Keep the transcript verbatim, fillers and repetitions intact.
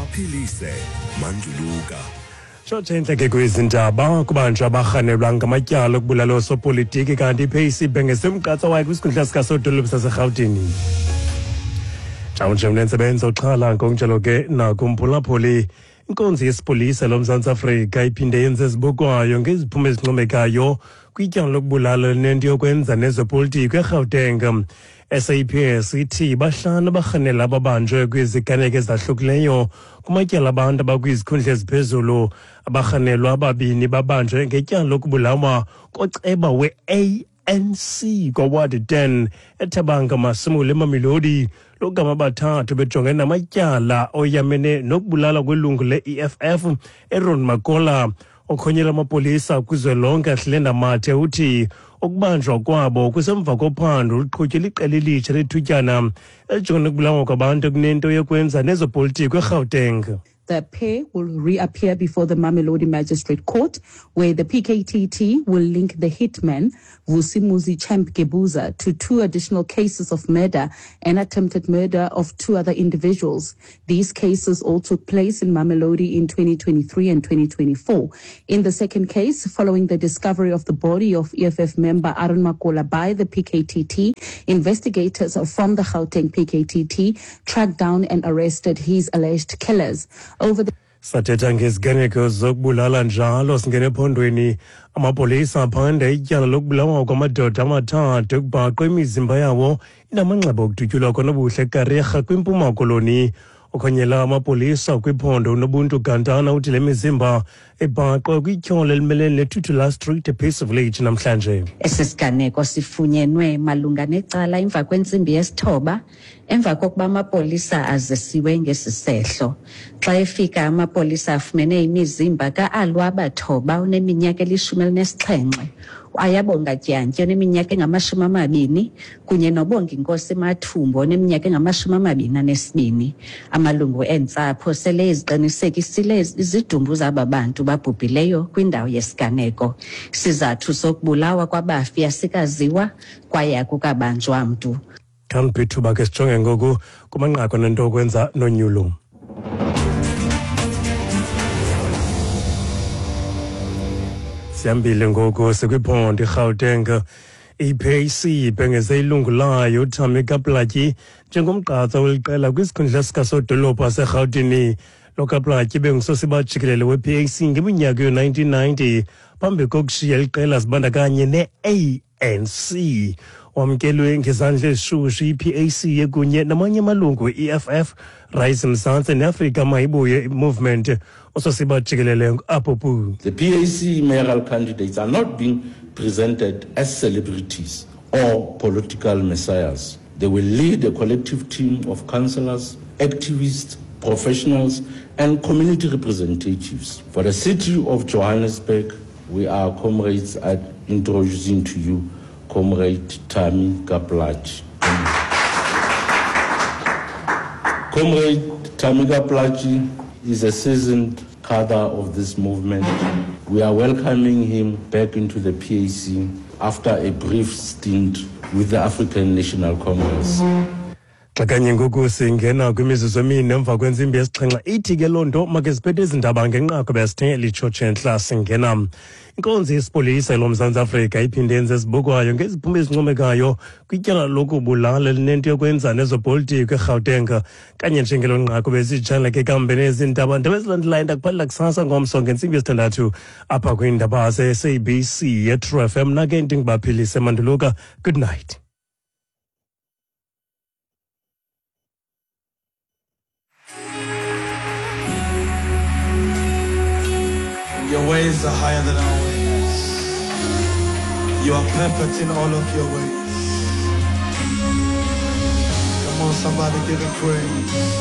Ndingubaphilise Manduluka. Tshotshe intleke kwezindaba kubanjwa abarhanelwa ngamatyala okubulala osopolitiki kanti i-P A C ibhengeze umgqatso wayo kwisikhundla sikasodolophu saseRhawutini. Njawunje mnentsebenzo xhala ngokunjalo ke nakumphulaphuli. Inkonzo yesipolisa loMzantsi Afrika iphinde yenze ezibukwayo ngeziphumo ezincomekayo kwityala lokubulala nento yokwenza nezopolitiko eGauteng. S A P S ithi bahlanu abarhanela ababanjwe kwiziganeko ezahlukileyo kumatyala abantu abakwizikhundla eziphezulu. Abarhanelwa ababini babanjwe ngetyala lokubulawa koceba we-A N C kwaWard ten eThabanga Masimule eMamelodi. Logama bathathu bejongene namatyala oyamene nokubulala kwelungu le-E F F Aaron Makola. Okhonyela amapolisa kwizwelonke Ahlenda Mathe uthi ukubanjwa kwabo kusemva kophando oluqhutywe liqela elitsha lethutyana elijongene nokubulawa kwabantu kunento yokwenza nezopolitiko eGauteng. The pair will reappear before the Mamelodi Magistrate Court, where the P K T T will link the hitman, Vusimuzi Champ Gebuza, to two additional cases of murder and attempted murder of two other individuals. These cases all took place in Mamelodi in twenty twenty-three and twenty twenty-four. In the second case, following the discovery of the body of E F F member Aaron Makola by the P K T T, investigators from the Gauteng P K T T tracked down and arrested his alleged killers. Over the Sathetha ngeziganeko zokubulala njalo singene ephondweni. Amapolisa aphanda ityala lokubulawa kwamadoda amathathu ekubhaqwe imizimba yawo inamanxeba okudutyulwa kwanobuhle Kariega kwiMpuma Koloni. Okhonyela amapolisa kwiphondo uNobuntu Gantana uthi le mizimba ebhaqwe kwityholo elimelene neTutula Street ePeace Village namhlanje. Esi siganeko sifunyenwe malunga necala emva kwentsimbi yesithoba emva kokuba amapolisa azisiwe ngesisehlo. Xa efika amapolisa afumene imizimba ka-Alwaba Thoba oneminyaka elishumi elinesixhenxe, Ayabonga Dyantyi oneminyaka engamashumi amabini kunye noBonginkosi Mathumbo oneminyaka engamashumi amabini anesibini. Amalungu entsapho sele eziqinisekisile izidumbu zaba bantu babhubhileyo kwindawo yesiganeko. Isizathu sokubulawa kwabafi asikaziwa kwaye akukabanjwa mntu. Khaniphi ke sijonge ngoku kumanqaku nento okwenza nonyulo. Sihambile ngoku sikwiphondo iGauteng. I-P A C ibhengeze ilungu layo uTamika Plaatjie njengomgqatso weliqela kwisikhundla sikasodolophu waseRhawutini. Lo kaPlaatjie bengusosiba jikelele we-P A C ngeminyaka yo-nineteen ninety phambi kokushiya liqela zibandakanye ne-A N C. Wamkelwe ngezandla ezishushu i-P A C ekunye namanye amalungu e-E F F, Rise Mzansi neAfrika Mayibuye Movement. Ososiba jikelele apho. The P A C mayoral candidates are not being presented as celebrities or political messiahs. They will lead a collective team of councillors, activists, professionals, and community representatives. For the city of Johannesburg, we are comrades at introducing to you Comrade Tamika Plaatjie. Comrade Tamika Plaatjie is a seasoned cadre of this movement. We are welcoming him back into the P A C after a brief stint with the African National Congress. Xa kanye ngoku singena kwimizuzu emine emva kwentsimbi yesixhenxe, ithi ke loo nto make siphethe izindaba ngenqaku besithe litshotshe entla singena. Inkonzo yesipolisa loMzantsi Afrika iphinde yenze ezibukwayo ngeziphumo ezincomekayo kwityala lokubulala elinento yokwenza nezopolitiko eGauteng. Kanye njengelo nqaku besitshala ke kambe nezindaba ndaba ezilandelayo ndakuphalela kusasa ngomso ngentsimbi yesithandathu apha kwiindaba ze-S A B C yeTrue F M. Nake ndingubaphilise Manduluka. Good night. Your ways are higher than our ways. You are perfect in all of your ways. Come on, somebody give him praise.